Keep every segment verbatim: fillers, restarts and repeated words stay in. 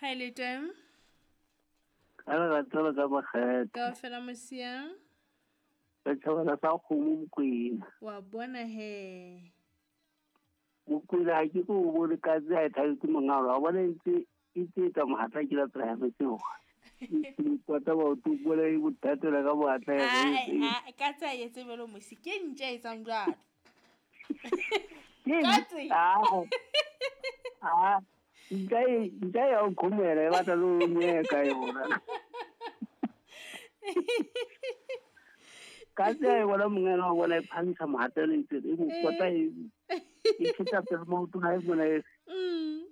Hi le teng. Ka re tsela ka makgethe. Ka fela mosia. Re tshwana sa kgomo Mokwena. Wa bona he. Mokwena ha ke go bone ka tse a thabetse mongalo wa bona ntse itse ka mohatla ke la tsela ya metseo. Ke tla ba o tubole e bothatela ka boatla ya. A ka tsa etse belo mosi ke ntse e tsang jwalo. Ka tse. Ah. Nka nka ya o khomela e batla lo nyeka yona. Ka tse e bona mongelo wa bona e phantsha mohatla ntse e mo kota e e feta pele mo tona e bona e. Mm.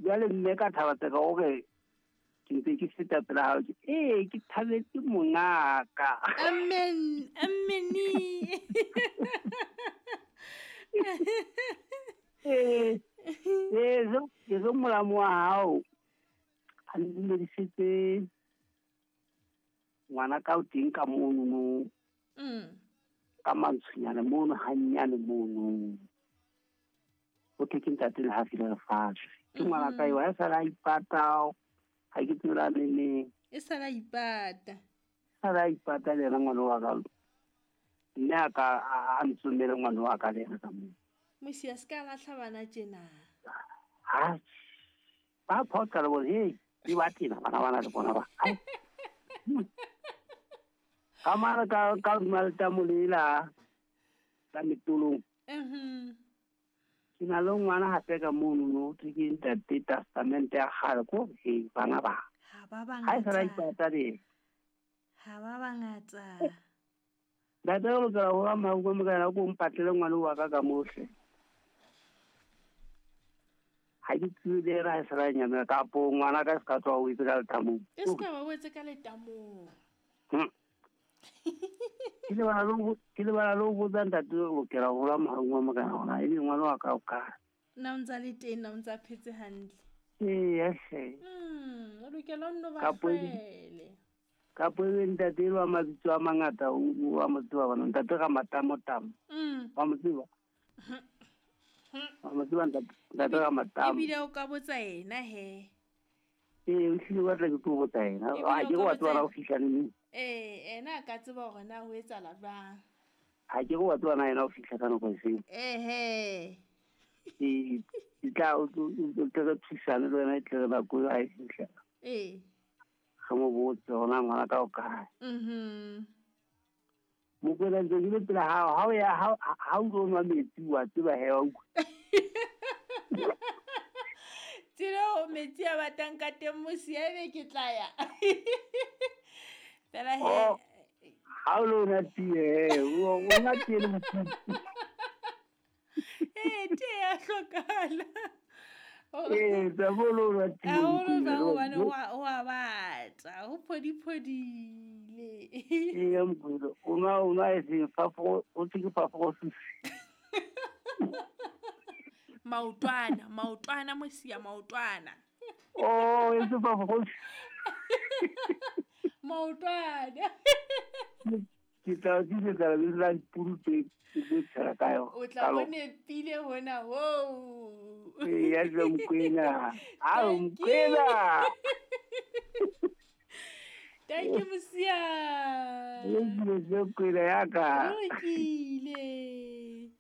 Jwale mme ka thaba tse ka hore ke ntse ke feta pela hao ke eh ke thabetse mongaka. Amen. Ameni. Eh eh zo ke zo molamo wa hao a ndumedisitse ngwana ka o teng ka mono no. Mm. Ka mantshunyana mono hanyane mono. O ke ke ntate le ha file lefatshe. Ke ngwana ka eo ha sala ipata ha ke tsela nene. E sala ipata. Sala ipata le ngwana wa ka. Nne a ka a ntsomele ngwana wa ka le ena ka mo. Mosia se ka lahla bana tjena. Ha. Ba photsa le bona hey, di ba tena bana bana le bona ba. Ka mara ka ka malta molela ka metolong. Mhm. Ke na le ngwana hape ka mono no ke ntate testament ya kgale ko he bana ba. Ha ba bangata. Ha e sala ipata le. Ha ba bangata. Ntate o lokela ho ba mahuko mokana ko mpatlele ngwana wa ka ka mohle. Ha ke tsebe ra sala nyana ka po ngwana ka se ka tswa o itse ka letamong. E se ka ba o itse ka letamong. Hm. Ke le bana lo ke le bana lo botsa ntate o lokela ho la mahuko mokana hona e le ngwana wa ka o ka. Na o ntsa le teng na o ntsa phetse hantle. Ee, yes. Mm, o lokela o nno ba fele. Ka poe ntate wa mabitso a mangata o wa mo tseba bana ntate ga matamo tamo. Mm. Wa mo tseba. Wa mo tseba ntate ntate ga matamo. Ebile o ka botsa ena he. Ee, o hlile wa tla ke tlo botsa ena. Ha ke wa tswa ra o fihla neng. Ee, ena a ka tseba hore na ho etsahala jwang. Ha ke wa tswa na ena o fihla ka nako efe. Ehe. Ee, ke tla o tlo re thusana le wena e tle re nako ha e fihla. Ee. Ga mo botse hona ngwana ka o kae. Mhm. Mokwena ntse ke le pela hao ha o ya ha ha o tlo nwa metsi wa tseba he wa utlwa. Tsela o metsi a batang ka teng mosia ebe ke tla ya. Fela he. Ha o lo nwa tee o nwa tee le motho. Eh tee ya hlokahala. Eh, tsa bolo ba tee. Ha o lo ba hobane wa wa batla, ho phodiphodile. Ee, mkhulu, o nwa o nwa e seng fafo, o tse ke fafo go susi. Maotwana, maotwana mosia maotwana. Oh, e se fafo go. Maotwana. Ke tla ke tla le la puru tse tse tshela ka yo. O tla bone pile hona ho. Ee, ya tla Mokwena. A Mokwena. Thank you mosia. Le le Mokwena ya ka. Lokile.